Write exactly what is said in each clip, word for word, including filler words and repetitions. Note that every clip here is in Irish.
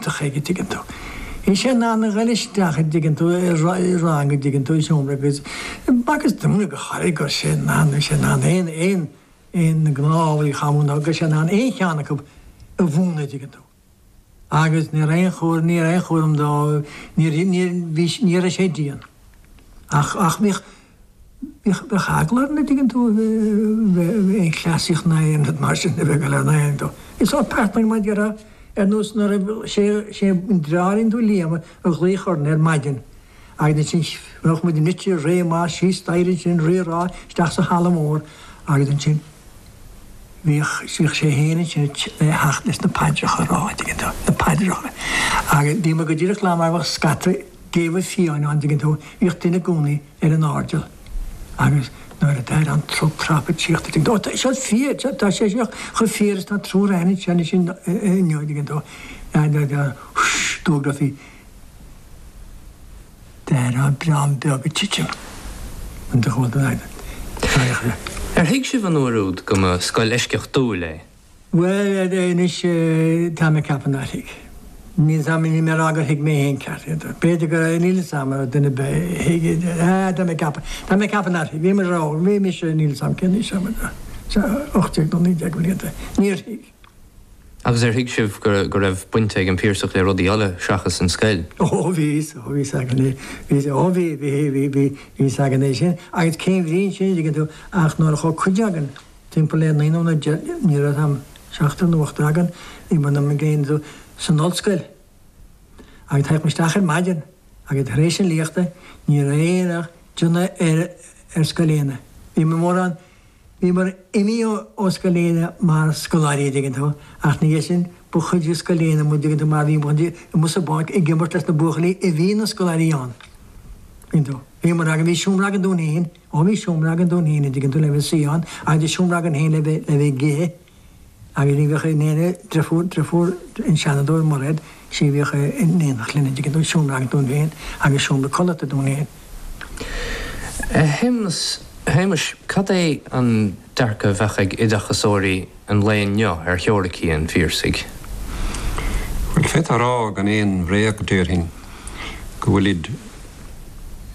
iontach aige, tuigeann tú. Bhí sé in ann a ghoil isteach, an dtuigeann tú, i rang, an dtuigeann tú, i seomra agus b'fhacthas dúinne go háirithe go raibh sé in ann, bhí sé in ann aon, aon, aon na gnáth-ábhair a chamú nó go raibh sé in ann aon cheann acu a mhúineadh, an dtuigeann tú. Agus ní raibh aon chúram, ní raibh aon chúram dó, ní, ní, bhí, ní raibh sé dian. Ach, ach bhíodh, bhíodh, bheadh eagla orainn, an dtuigeann tú, aon chleasaíocht ná aon rud mar sin a bheith ag dul ar an aon dó. Is sórt pearsanach mar a déarfá, ar nós nuair a, sé, sé an deartháirín tú Liam a ghlaoch orainn ar maidin agus ansin bheadh muid nite réidh amach síos staighre ansin, rírá, isteach sa halla mór agus ansin bhíodh, bhíodh sé féin ansin le theacht leis na paidreacha a rá, an dtuigeann tú, na paidreacha. Agus bhíomar go díreach lá mar bheadh scata géabha fiáine ann, an dtuigeann tú, bhíodh duine i gcónaí ar an airdeall agus nuair a d'airigh an trup trap ag tíocht, an dtuigeann tú, ó tá seo fíor, tá sé seo chomh fíor is tá triúr againn anseo anois inniu, an dtuigeann tú, d'fhógrófaí d'airigh dream beag ag titim an do chomhalta Ar thuig sibh an uair úd go mba scoil eisceachtúil é? Bhuel, anois, tá mé ag ceapadh nár thuig. Níl 's a'm, níl mé ag rá gur thuig mé féin ceart é. B'fhéidir go raibh, níl 'fhios a'm an raibh duine ar bith a thuig é. Ah, tá mé ag ceapadh, tá mé ag ceapadh nár thuig. Bhí muid ró, bhí mise, níl 'fhios a'm cén aois a raibh mé, ocht déag nó naoi déag blianta. Níor thuig. Agus ar thuig sibh go raibh baint ag an Piarsach le rudaí eile seachas an scoil? Ó bhí, ó bhí 's againn é, bhí, ó bhí, bhí, bhí, bhí, bhí 's againn é sin. Agus cén bhrí ansin, an dtuigeann tú, ach nuair a chuaigh cuid againn timpeall le naoi nó deich, ní raibh 's a'm, seachtar nó ochtar againn, bhí muid ag déanamh san ollscoil. Agus théadh muid isteach ar maidin agus tar éis an léachta ní raibh aon ach déanamh ar, ar Scoil Éanna. Bhí mórán. Bhíomar imithe ó Scoil Éanna mar scoláirí, an dtuigeann tú, ach ina dhiaidh sin ba chuid de Scoil Éanna muid, an dtuigeann tú, mar bhí muid amuigh sa bpáirc ag imirt leis na buachaillí a bhí ina scoláirí ann, an dtuigeann tú. Bhíomar againn, bhí seomra againn dúinn féin, ó bhí seomra againn dúinn féin, an dtuigeann tú, le bheith ag suí ann agus bhí seomra againn féin le bheith, le bheith ag ithe agus ní bheadh in aon deirfiúr, deirfiúr an Seanadóir Mairéad, sí a bhíodh in éineacht linn, an dtuigeann tú, seomra againn dúinn féin agus seomra codlata dúinn féin. A Shéamuis, Shéamuis, cad é an dearcadh a bheadh ag oideachasóirí an lae inniu ar theoiricí an Phiarsaigh? Bhuel, d'fhéadfá a rá gan aon bhréag, déarfainn, go bhfuilid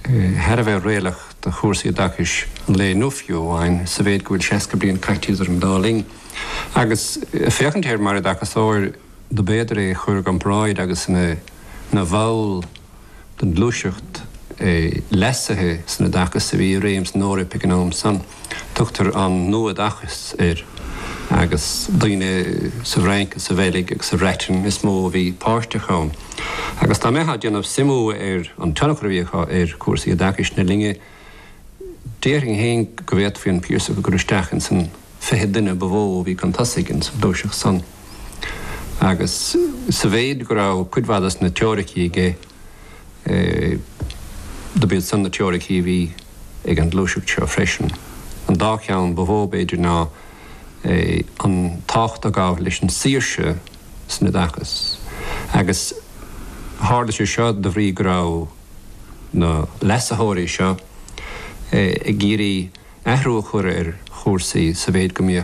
thar a bheith réalaíoch do chúrsaí oideachais an lae inniu fiú amháin, sa mhéid go bhfuil seasca bliain caite idir an dá linn. Agus féachaint air mar oideachasóir, dob fhéidir é a chur i gcomparáid agus ina bhall den ghluaiseacht leasaithe san oideachas a bhí i réim san Eoraip ag an am san. Tugtar an Nua-Oideachas air agus daoine sa bhFrainc is sa Bheilg agus sa Bhreatain is mó a bhí páirteach ann. Agus dá mbeifeá ag déanamh suimiú ar an tionchar a bhí acu ar chúrsaí oideachais na linne, déarfainn féin go bhféadfaí an Piarsach a chur isteach ins an fiche duine ba mhó a bhí chun tosaigh ins an ghluaiseacht san. Agus sa mhéid go raibh cuid mhaith des na teoiricí aige, dob iad san na teoiricí a bhí ag an ghluaiseacht seo freisin. An dá cheann ba mhó, b'fhéidir, ná an tábhacht a ghabh leis an saoirse san oideachas. Agus tharla sé seo de bhrí go raibh na leasaitheoirí seo ag iarraidh athrú a chur ar chúrsaí sa mhéid go mbíodh